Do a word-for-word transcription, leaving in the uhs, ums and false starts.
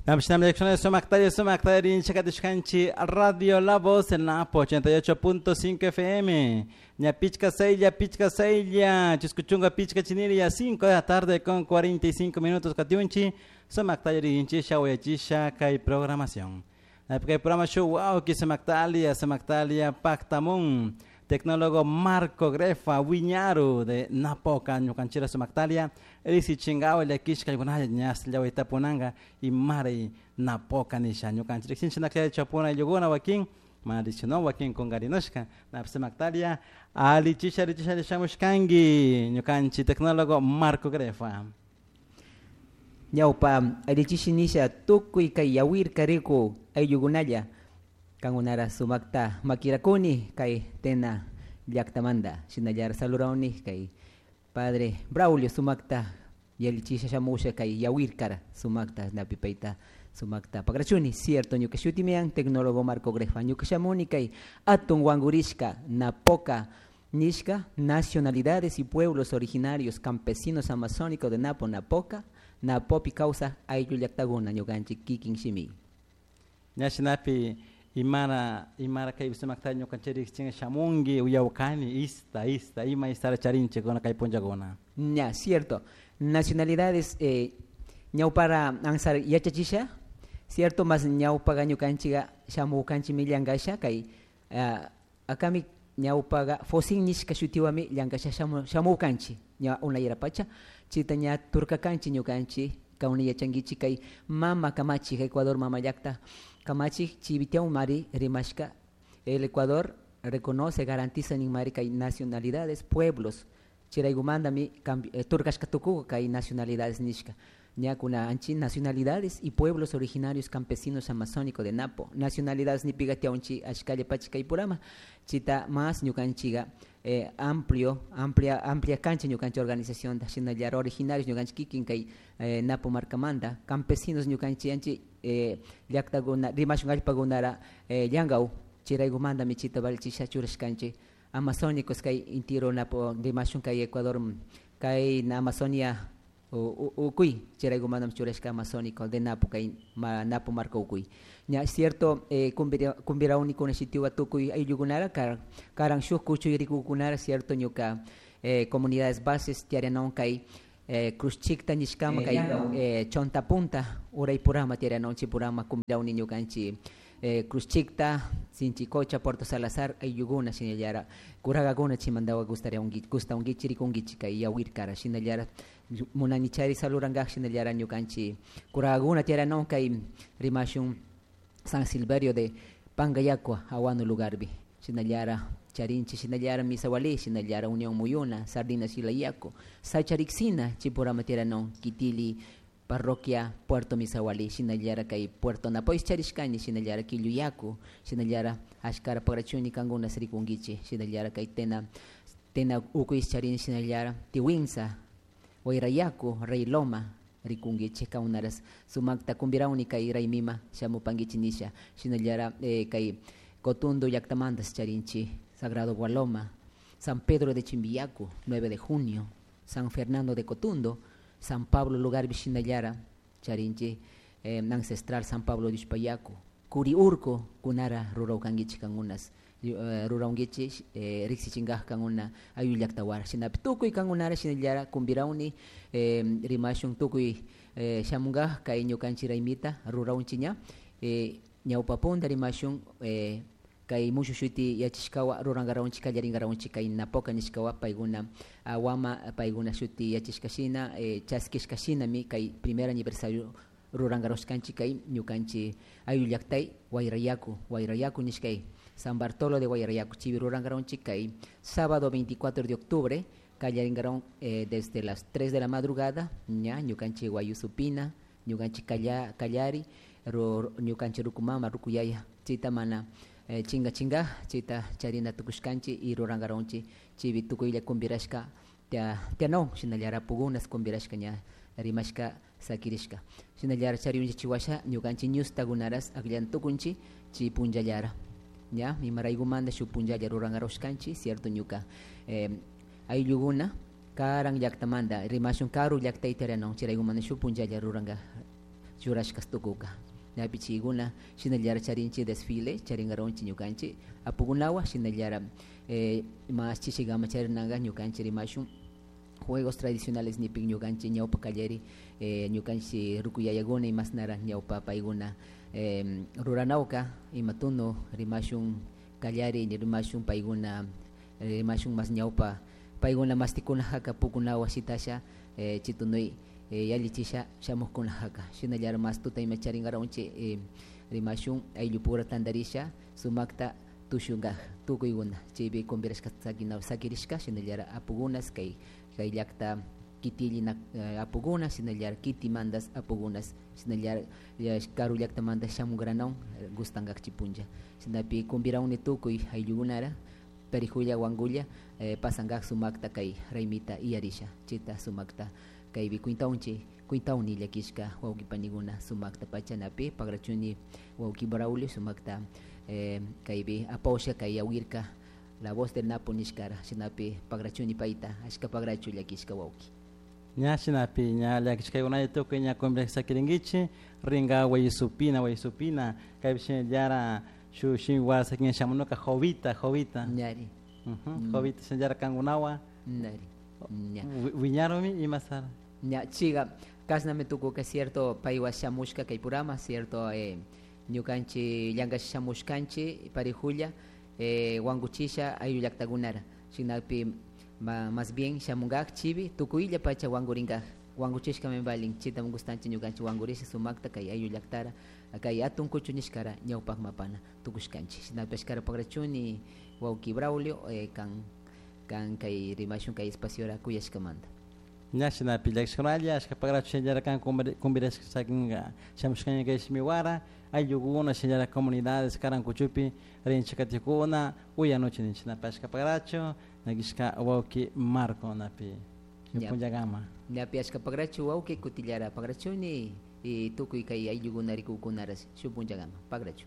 Sumaktalla, Radio La Voz en Napo ochenta y ocho punto cinco F M. Ña pichca seilla, pichca seilla, chuscuchunga pichca chiniria, cinco de la tarde con cuarenta y cinco minutos katiunchi. Sumaktalla rinchisha, uyachisha, kay programación. Kay programa show, wow, ki Sumaktalia, Sumaktalia, Pactamun. Tecnólogo Marco Grefa, Wiñaru de Napoca, Ñucanchira Sumaktalia, Elisi Chingao, Yakishka, Ñas, Llahuitapunanga y Mari Napoca Nisha, Ñucanchira, Xinchina, Chapuna, Yuguna, Joaquín, Marichino, Joaquín con Garinoshka, Napsemaktalia, Ali Chisha, Richisha, Shamushkangi, Ñucanchi, tecnólogo Marco Grefa. Ñaupa, Alichisha Nisha, Tukuy, Kayawir, Kariku, Ayugunaya. Kangunara sumakta makirakuni kay tena llaktamanda shinallar salurauni kay padre Braulio sumakta yalichisha shamusha kay yawirkara sumakta napipaita sumakta pagrachuni cierto ñuka shutimian tecnólogo Marco Grefa ñuka shamuni kay atun wangurishka napoca nishka nacionalidades y pueblos originarios campesinos amazónicos de Napo Napoca Napopi causa ayllu llaktaguna ñukanchik kikin shimi ñashinapi imara imara kay sumakta ñukanchik chinga shamungi uyawkani ista ista ima istara charinche con kay punllakuna. Ña, cierto. Nacionalidades eh ñawpara ansar yachachisha, cierto, más ñawpaga ñukanchiga shamukanchi millangasha kay uh, akami ñawpaga fosin nishka shutiwami llangasha shamu shamukanchi ña unayarapacha chita ña turkakanchi ñukanchi kauni yachangichi kay mama kamachi Ecuador mama llakta Kamachi Chivitiau Mari Rimashka, el Ecuador reconoce, garantiza ni mari kay nacionalidades, pueblos. Chiraigumanda mi eh, turkashka tukuga kay nacionalidades nishka. Ñakuna anchi nacionalidades y pueblos originarios campesinos amazónicos de Napo. Nacionalidades ni pigatiaunchi ashkalla pachi kay purama. Chita más ñukanchiga eh, amplio, amplia, amplia cancha ñukanchi organización da shinallar originarios ñukanchi kikin kay eh, Napo markamanda, campesinos ñukanchi anchi eh, llaktaguna rimashun allpagunara eh, llankau chiraygumanda michita valchisha churashkanchi amazónicos kay intiro Napo rimashun kay Ecuador kay na Amazonia ukuy chiraygumanda churashka amazónico de Napo kay ma, Napo marka ukuy ña cierto eh, kumbira kumbirauni kuna shitiwa tukuy ayllukunara kar karan shuk kuchuy rikukunara cierto ñuka eh, comunidades bases tiarianon kay eh, Cruzchikta nishkama kay eh, Chonta Punta Uraypurama tiarianon chipurama kumbirauni ñukanchi eh, Cruzchikta Sinchicocha Puerto Salazar ayllukuna shinallara kuragakuna chimandawa gustaría ungi gusta ungichi rikungichi kay yawirkara shinallara munanichari salurangaj shinallara ñukanchi kuragakuna tiarianon kay rimashun San Silverio de Pangayacua Aguano lugarbi shinallara Charinchi shinallara Misawali shinallara Unión Muyuna Sardinas Shilayaco Sacharixina Chipurama tiaranon Kitili Parroquia Puerto Misawali shinallara kay Puerto Napois charishkani shinallara Quilluyacu shinallara Ashkara pagrachuni kanguna srikungichi shinallara kay tena tena ukuis charin shinallara Tiwinsa Huayrayacu Rey Loma rikungichi kaunaras sumakta kumbirauni kay raymima shamupangichi nisha shinallara eh, kay Cotundo llaktamantas charinchi Sagrado Gualoma San Pedro de Chimbiyacu nueve de junio San Fernando de Cotundo San Pablo lugar shinallara charinchi eh, ancestral San Pablo de Ushpayacu Curiurco kunara ruraukangichi kangunas uh, ruraungichi eh, riksichingaj kanguna ayllu llaktawara shinapi tukuy kangunara shinallara kumbirauni eh, rimashun tukuy eh, shamungaj kay ñukanchik raymita ruraunchi ña eh, ñawpapunda rimashun eh, kay mushu shuti yachishkawa rurangarawunchik kallaringarawunchik kay Napoca nishkawa paykuna awama paykuna shuti yachishkashina eh, chaskishkashinami kay primer aniversario rurangarushkanchik kay ñukanchik ayllu llaktay Huayrayacu Huayrayacu nishkay San Bartolo de Huayrayacu chivi rurangarawunchik kay sábado veinticuatro de octubre kallaringaron eh, desde las tres de la madrugada ña ñukanchik Guayusupina ñukanchik kalla kallari ru ñukanchik rukumama rukuyaya chita mana eh, chinga chinga chita charina tukushkanchi y rurangaronchi chivi tukuylla kumbirashka tia tiano shinallara pugunas kumbirashka ña rimashka sakirishka shinallara chariunchi chiwasha ñukanchik ñustakunaras akllan tukunchi chi punllallara ña imaraygumanta shuk punllalla rurangarushkanchik cierto ñuka eh, ayllukuna karan llaktamanta rimashun karu llaktayta rianon chiraygumanta shuk punllalla ruranga churashkas tukuka ñapi chaykuna shinallara charinchik desfile charinkaronchik ñukanchik apukunawan shinallara eh, mas chishikama charinaka ñukanchik rimashun juegos tradicionales nipik ñukanchik ñawpa kallari eh, ñukanchik rukuyayakuna imasnara ñawpa paykuna eh, ruranawka ima tunu rimashun kallari rimashun paykuna rimashun mas ñawpa paykuna mastikuna haka pukunawan shitasha eh, chitunuy eh, yallichisha shamukkuna haka shinallara mas tuta ima charinkaronchik eh, rimashun ayllupura tantarisha sumakta tushunkaj tukuykuna chaypi convirashka sakina sakirishka shinallara apukunas kay kay llakta kitillina eh, apukuna shinallara kitimantas apukunas shinallara karu llaktamanta shamunkranawan gustankakchi punlla shinapi convirawni tukuy ayllukunara Perijulla Huangulla eh, pasankaj sumakta kay raymita iyarisha chita sumakta kaypi cuintawnchik cuintawni llakishka wawqi panikuna sumakta pachanapi pakrachuni wawqi Braulio sumakta eh, kaypi apawsha kay yawirka la voz del Napo nishkara shinapi pakrachuni payta ashka pakrachu llakishka wawqi. Ña shinapi ña llakishkaykunalla tukuy ña conversakirinkichik rinka Wayisupina Wayisupina kaypi shinallara shuk shimiwara sakin shamunuka Jovita Jovita. Ñari. Uh -huh. Jovita shinallara kankunawan. Ñari. Ña. Wiñarumi imasara. Ña chiga kasnami tukuka cierto paywan shamushka kay purama cierto eh, ñukanchik llankasha shamushkanchik parijulla eh, wankuchisha ayllu llaktakunara shinakpi ma, más bien shamunkaj chibi tukuylla pacha wankurinkaj wankuchishkami valin chitami gustanchik ñukanchik wankurisha sumakta kay ayllu llaktara kay atun kuchu nishkara ñawpakma apana tukushkanchik shinapi ashkara pakrachuni wawki Braulio eh, kan kan kay rimashun kay espaciora kuyashkamanta. Ña shinapi llakishkunalla ashka pakrachu shinallara kan convirashka sakinka shamushkaña kay shimiwara ayllukuna shinallara comunidades karan kuchupi rinchik katikuna uyanuchi ninchik shinapi ashka pakrachu llakishka wawki Marco napi punllakama. Ñapi ashka pakrachu wawki kutillara pakrachuni y tukuy kay ayllukuna rikukunara shuk punllakama pakrachu.